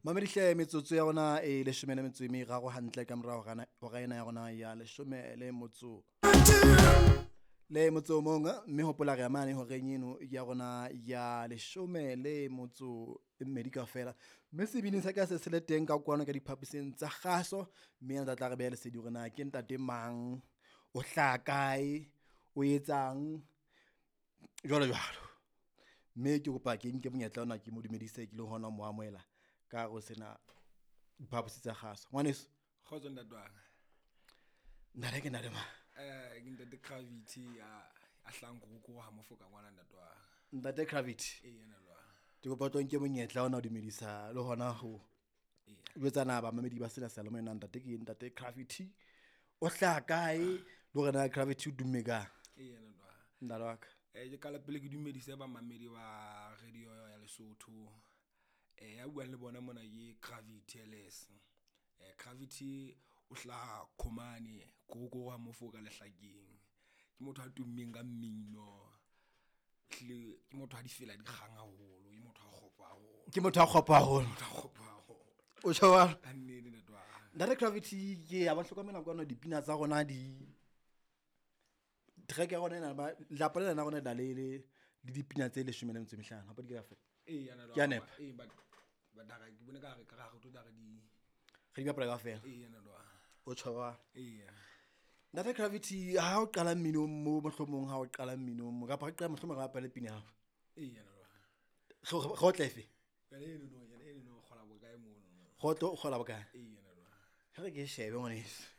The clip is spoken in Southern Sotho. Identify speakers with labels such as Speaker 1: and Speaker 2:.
Speaker 1: Mamedihle metsotso ya rona e leshome le metso e meraro hantle ka morao hora ena ya rona ya leshome le motso le motso o mong, mme hopola re ya mane horeng eno ya rona ya leshome le motso e mmedi kaofela. Mme sebini sa ka se se le teng ka kwano ka diphaposing tsa kgaso, mme a tla re beha lesedi hore na ke ntate mang, o hlaha kae, o etsang jwalo jwalo. Mme ke kopa ke nke monyetla ona ke mo dumedise ke le hona ho mo amohela ka hare ho sena diphaposi tsa kgaso. Ngwaneso.
Speaker 2: Kgotso ntate wa ka.
Speaker 1: Ntate ke ntate mang?
Speaker 2: Ke ntate Gravity a hlahang Korokoro ha Mofoka ngwana ntate wa ka.
Speaker 1: Ntate Gravity.
Speaker 2: Ee, ntate wa ka.
Speaker 1: Ke kopa o tlo nke monyetla ona ho dumedisa le hona ho jwetsa bamamedi ba sena seyalemoya na ntate ke ntate Gravity. O hlaha kae le hore na Gravity o dumme kang?
Speaker 2: Ee, ntate wa ka.
Speaker 1: Ntate wa ka.
Speaker 2: Ke qala pele ke dumedise bamamedi ba radio ya Lesotho. Ya buang le bona mona ke Gravity LS. Gravity o hlaha Khomane, Korokoro ha Mofoka lehlakeng. Ke motho a tummeng ka mmino. Ehlile ke motho a difela di kgang haholo, ke motho a kgopo haholo.
Speaker 1: Ke motho a kgopo haholo.
Speaker 2: Motho a kgopo haholo.
Speaker 1: O tjho jwalo?
Speaker 2: Ka nnete ntate wa ka.
Speaker 1: Ntate Gravity ke ya ba hlokomela kwano dipina tsa rona di track ya rona ena ba lapa lena la rona le na le le dipina tse leshome le metso e mehlano. Hape di ka fela.
Speaker 2: Ee, ntate
Speaker 1: Ke a
Speaker 2: wa ka.
Speaker 1: nepa.
Speaker 2: Ee, but ha ke bone ka re ka re tlo tla re di
Speaker 1: Re di bapala kaofela.
Speaker 2: Ee, ntate wa ka.
Speaker 1: O tjho jwalo?
Speaker 2: Ee.
Speaker 1: Ntate Gravity ha o qala mminong mo mohlomong ha o qala mminong mo kapa re qala mohlomong re bapale pina ya hao.
Speaker 2: Ee, ntate wa ka.
Speaker 1: Re otle efe?
Speaker 2: Yona eno no, yona eno no, o kgola bokae mono?
Speaker 1: Kgotlo o kgola bokae?
Speaker 2: Ee, ntate wa ka.
Speaker 1: Ha re ke shebe ngwaneso.